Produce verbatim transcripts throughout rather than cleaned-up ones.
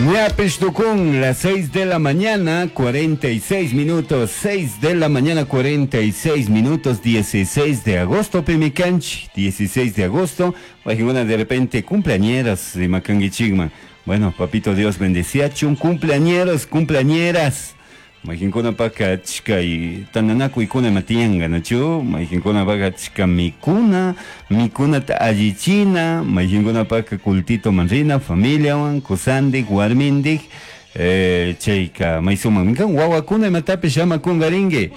Ñapish tukun, las seis de la mañana, cuarenta y seis minutos, seis de la mañana, cuarenta y seis minutos, dieciséis de agosto, pimicanchi, dieciséis de agosto, una de repente cumpleañeras de Macanguichigma. Bueno, papito Dios bendeciachun, cumpleañeros, cumpleañeras. Mayqinkunapaka achka tantanakuykuna ima tiyanka, nachu? Mayqinkunapaka achka mikuna, mikunata allichina, mayqinkunapaka cultitoman rina, familiawan, kusandik, warmindik, eh, chayka may sumakmi kan. Wawakuna imatapish ama kungarinki.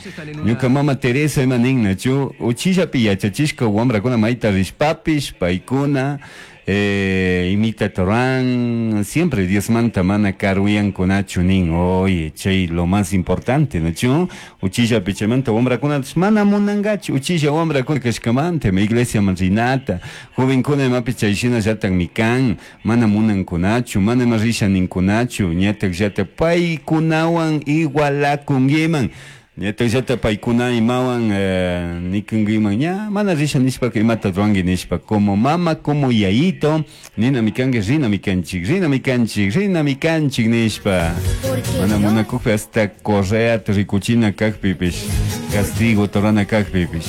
Ñuka mama Teresa ima nin, nachu? Uchillapi yachachishka wamrakuna mayta rishpapish, paykuna eh, imita Torán, siempre Diosmanta mana karuyankunachu nin. Oye, chay lo más importante, nachu? Uchillapi chaymanta wamrakuna mana munankachu, uchilla wamrakuna kashkamanta, ma iglesiaman rinata, jovenkuna imapi chay shinallatakmi kan, mana munankunachu, mana ima risha ninkunachu, ñatak llata paykunawan igualakunkiman. Ñatak paykuna imawan eh, nikunkiman ña mana risha nishpaka imata ruwanki nishpa. Como mama, como yayito, ninami kanki, rinami kanchik, rinami kanchik, rinami kanchik nishpa. Mana munakukpi hasta correata rikuchina kakpipish, castigo torana kakpipish.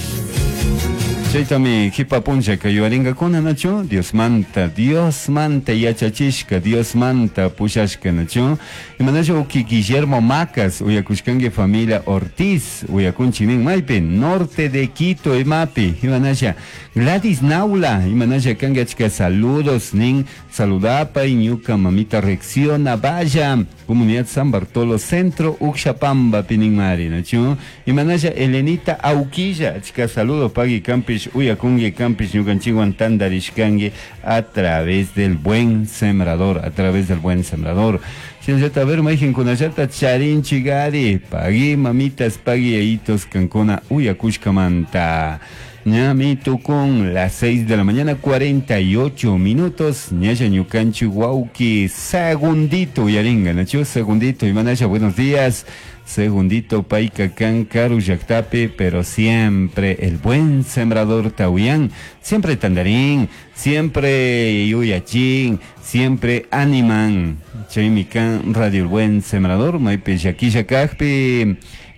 Chaytami qipa punllaka yuyaringakuna, nachu? Diosmanta, Diosmanta yachachishka, Diosmanta pushashka, nachu? Imanasha uki Guillermo Macas, uyakushkanki familia Ortiz, uyakunchik nin maypi, norte de Quito imapi. Imanasha Gladys Naula, imanasha kanki, achka saludos nin, saludapay ñuka mamita Reacciona vaya, comunidad San Bartolo Centro, Uxapamba pininmari, nachu? Imanasha Elenita Auquilla, achka saludos pagui kampish uyakungi, kampish ñukanchikwan tandarishkanki a través del Buen Sembrador, a través del Buen Sembrador. Shinallata, a ver, mayqinkunallata charinchigari, pagui mamitas, pagui yayitos kankuna uyakushkamanta. Ñami tukun las seis de la mañana cuarenta y ocho minutos. Ñalla ñukanchik wawki Segundito uyaringa, nachu? Segundito, imanasha, buenos días. Segundito payka kan karu llaktapi, pero siempre el Buen Sembrador ta uyan, siempre tandarin, siempre yuyachin, siempre animan. Chaymi kan Radio El Buen Sembrador, maypi llakilla kajpi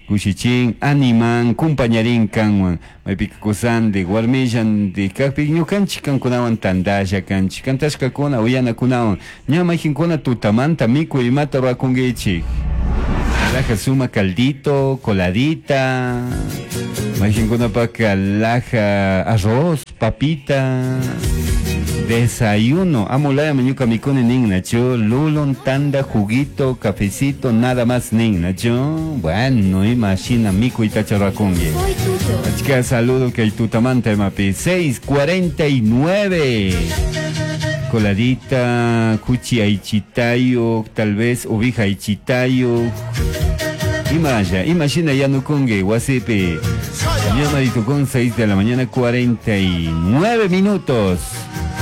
kushichin, animan, kumpañarin kanwan, maypi kusandi, warmillandi kajpi ñukanchik kankunawan tandalla kanchik, kantashkakuna uyanakunawan. Ña mayqinkuna tutamanta mikuy imata rurakunkichik? Laja suma caldito, coladita, mayqinkunapaka laja arroz, papita, desayuno, amulaya ñuka mikuni nin, nachu? Lulun, tanda, juguito, cafecito, nada más nin, nachu? Bueno, imashina mikuytacha rurakunki. Achka saludo kay tutamanta imapi, seis cuarenta y nueve. Coladita, kuchi aychitayo, tal vez ovija aychitayo. Imaya, imagina yanukungi wasipi. Ñamari tukun seis de la mañana cuarenta y nueve minutos.